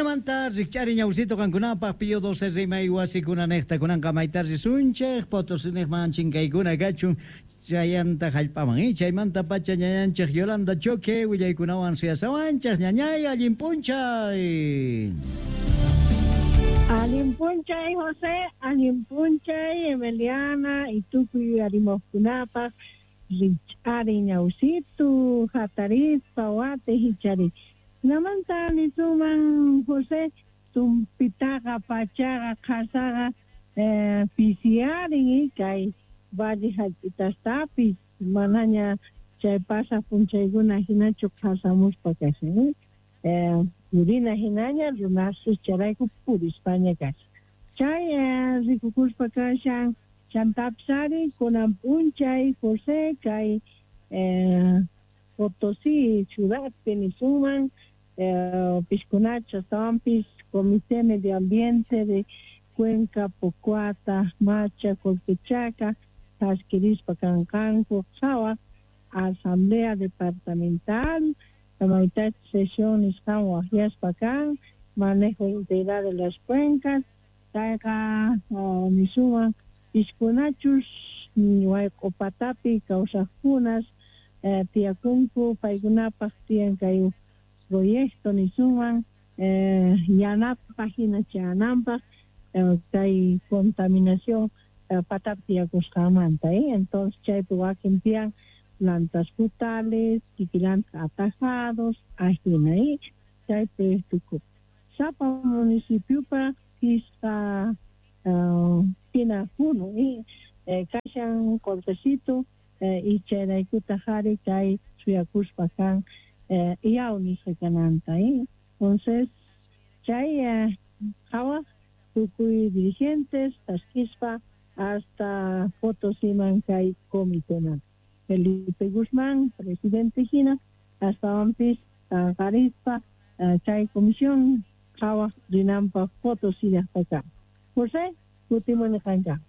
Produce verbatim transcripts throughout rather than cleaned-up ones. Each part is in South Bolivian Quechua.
Jinamanta rikch'ari ñawsito qankunapaq Pío doce rimay wasikunanejta kunanqa mayta risunchej Potosiniqman chinkaykuna kachun chayanta jallp'aman eh? Chaymanta pacha ñañanchej Yolanda Choque willaykunawan suyasawanchej ñañay allin p'unchay. Allin p'unchay José, allin p'unchay Emiliana y tukuy yuyarimuqkunapaq rikch'ari ñawsitu hatarispa wati hichari. Namanta nisuman José tumpitaqa pachaqa qhasaqa eh, pisiarin kay valle hallp'itastapis manaña chay pasaq p'unchaykuna hinachu qhasamuspa kashan eh, purina hinaña runasus chayrayku purispaña kashan chay eh, rikukuspa kashan chantapis ari kunan p'unchay José kay eh, Potosí ciudadpi nisuman eh, piskunacha astawanpis Comité Medio Ambiente de Cuenca, Pocoata, Macha, Colquechaca, Thaskirispa kanqanku qhawaq Asamblea Departamental, maytachus sesión nisqan waqyaspa kan, manejo integral de las cuencas, chayqa uh, nisuman piskunachus wayq'upatapi kawsaqkunas eh, tiyakunku paykunapaq tiyan kay proyecto nisuman eh, yanapaq hina chayananpaq eh, kay contaminación eh, patapi tiyakusqanmanta eh? Entonces chaypi wakin tiyan plantas frutales, kikilanta atajados, ajina eh? Chaypi tukup sapa municipiopa pisqa uh, hina hunu eh? Eh, kashan qolqecito eh, y chayraykuta jari kay suyakuspa kan eh, yaw nisqa kananta eh? Entonces chay eh, qhawaq tukuy dirigentes thaskispa hasta Potosiman kay comiteman Felipe Guzmán, presidente hina, astawanpis tanqarispa uh, chay comisión qhawaq rinanpaq Potosí llaqtaka. José, kutimuni qanka.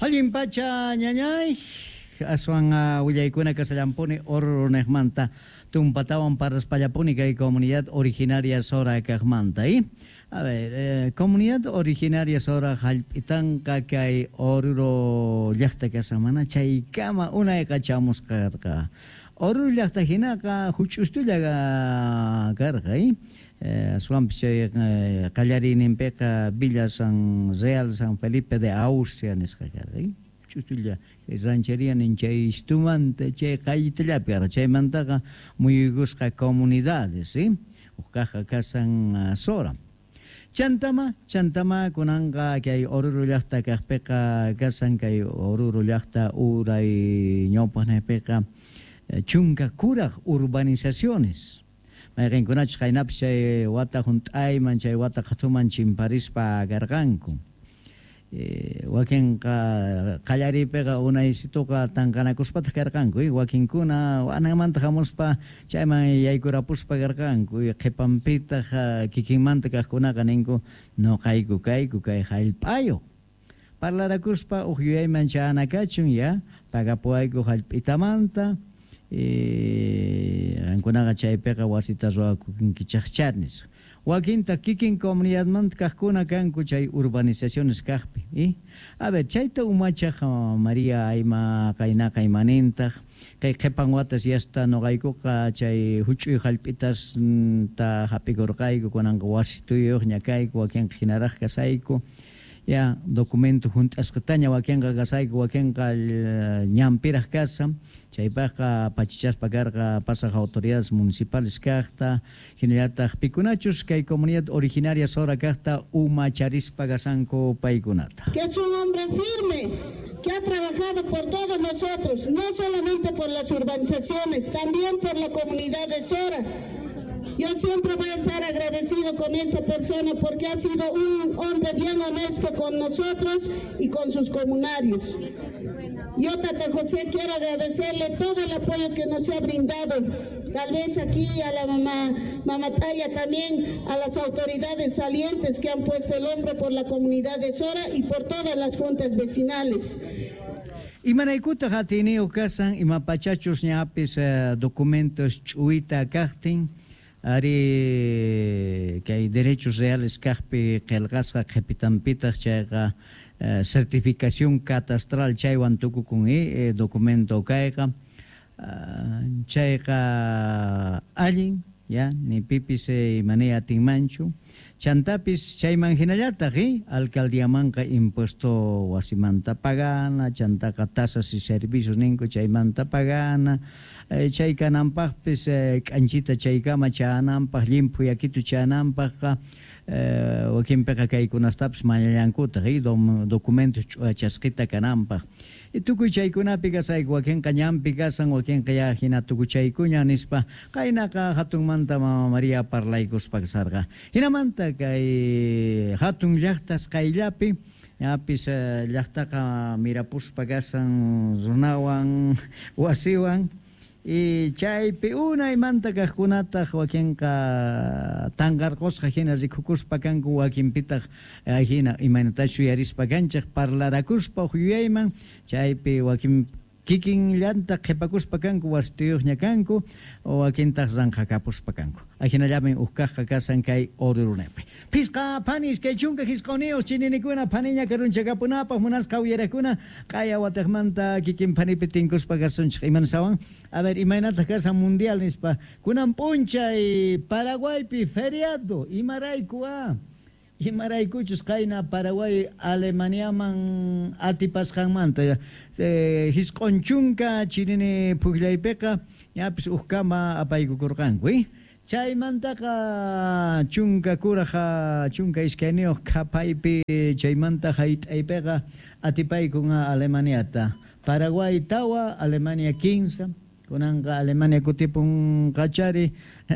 Allin pacha ñañay aswan uh, willaykuna kasallampuni Oruro-nejmanta tumpatawan parraspallapuni kay comunidad originaria Sora kaqmanta eh? A ver, eh, comunidad originaria Sora hallp'itanqa kay Oruro llaqta kasamana chaykama unayqa chamusqa karqa. Oruro llaqta hinaqa huch'ustulla karqa eh? Eh, aswanpis chay eh, qallariyninpiqa Villa San Real San Felipe de Austria nisqa karqa eh? Huch'ustulla rancheria nin chay istumanta chay qallitallapi karqa chaymantaqa muyuykusqa comunidades eh? Uqkaqqa kasan uh, Sora. Chantama, chantama kunanqa kay Oruro llaqta kaqpiqa kasan kay Oruro llaqta uray ñawpaqnaypiqa chunka kuraq urbanizaciones. Mayqinkunachus qaynapis chay wata hunt'ayman chay wata qhatuman chimparispa karqanku. Eh, wakinqa qallariypiqa unaysituqa tanqanakuspataq karqanku eh? Wakinkuna anamanta hamuspa chayman yaykurapuspa karqanku eh? Qhipanpitaq kikinmanta kaqkunaqa ninku nuqayku kayku kay hallp'ayuq parlarakuspa uq yuyayman chayana kachun ya pagapuwayku hallp'itamanta eh, qankunaqa chaypiqa wasita ruwakunkichaqchar nispa. Wakinta kikin comunidadmanta kaqkuna kanku chay urbanizaciones kaqpi eh? A ver, chayta umachaq María ayma qaynaqa imanintaq kay qhipan watas yasta nuqaykuqa chay huch'uy hallp'itas ta hap'ikurqayku kunanqa wasituyuqña kayku wakinqa hinaraq kasayku ya documento hunt'asqataña wakinqa kasayku wakinqa ñanpiraq kasan chaypaqqa pachichaspa karqa pasaq autoridades municipales kaqta hinallataq pikunachus kay comunidad originaria Sora kaqta umacharispa kasanku paykunata. Que es un hombre firme que ha trabajado por todos nosotros, no solamente por las urbanizaciones, también por la comunidad de Sora. Yo siempre voy a estar agradecido con esta persona porque ha sido un hombre bien honesto con nosotros y con sus comunarios. Yo, Tata José, quiero agradecerle todo el apoyo que nos ha brindado. Tal vez aquí a la mamá, mamá Talla también, a las autoridades salientes que han puesto el hombro por la comunidad de Sora y por todas las juntas vecinales. Imaraykutaq atiyniyuq kasan ima pachachus ñapis eh, documentos ch'uwita kaqtin ari kay derechos reales kaqpi qillqasqa qhipitanpitaq chayqa eh, certificación catastral chaywan tukukun eh, documento kayqa uh, chayqa allin ya ni pipis eh, imani atinmanchu chantapis chayman hinallataq eh, alcaldiamanqa impuesto wasimanta pagana chantaqa tasas y servicios ninku chaymanta pagana eh, chay kananpaqpis eh, k'anchita chaykama chananpaq llimphu yakitu chananpaqqa eh, wakinpiqa kaykunastapis mañallankutaq eh, dom, documentos ch'uachasqita kananpaq y tukuy chaykunapi kasayku wakinqa ñanpi kasan wakinqa ya hina tukuchaykuña nispa qaynaqa hatunmanta mama María parlaykuspa kasarqa hinamanta kay hatun llaqtas qayllapi ñapis eh, llaqtaqa mirapuspa kasan runawan wasiwan y chaypi unaymanta kaqkunataq wakinqa tanqarqusqa hina rikukuspa kanku wakinpitaq hina imaynatachu yuyarispa kanchik parlarakuspa huk yuyayman chaypi wakin kikinllanta qhipakuspa kanku wasitiyuqña kanku wakintaq ranqakapuspa kanku ajinallamin huk kaqqa kasan kay Orurunepi phisqa phanis kay chunka hisq'uniyuq chininikuna phaniña karunchakapunapaq munasqa uyarakuna q'aya wataqmanta kikin phanipi tinkuspa kasunchik imansawan a ver imaynataq kasan mundial nispa kunan p'unchay Paraguaypi feriado imarayku a imaraykuchus qayna Paraguay Alemaniaman atipasqanmanta eh, hisq'un chunka chinini puqllaypiqa ñapis ukkama apaykukurqanku eh? Chaymantaqa chunka kuraqa chunka iskayniyuq qhapaypi chaymanta hayt'aypiqa atipaykun Alemaniata Paraguay tawa Alemania kinsa kunanqa Alemania kutipun qachari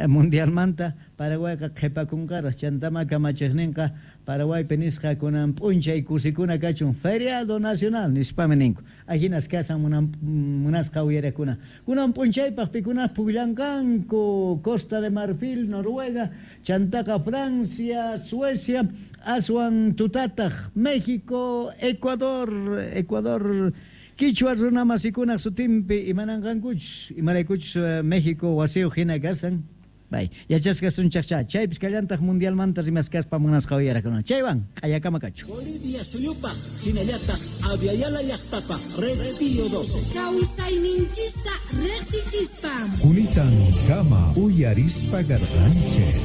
mundialmanta Paraguayqa qhipakunqaraq chantama kamachiqninqa Paraguaypi nisqa kunan p'unchay kusikuna kachun feriado nacional nispami ninku ahinas kasan munan munasqa uyarakuna kunan p'unchaypaq pikunaq puqllanqanku Costa de Marfil Noruega chantaqa Francia Suecia aswan tutataq México Ecuador Ecuador Kichwa runamasikunaq sutinpi imananqankuchus imaraykuchus México wasiyuq hina kasan bay yachasqa sunchaqcha chaypis kallantaq mundialmanta rimaskaspa munasqa uyarakuna chaywan q'ayakama kachu Bolivia suyupaq hinallataq Aviala llaqtapaq Red Pío doce kawsayninchista riqsichispa Kunitan kama uyarispa garqanchik.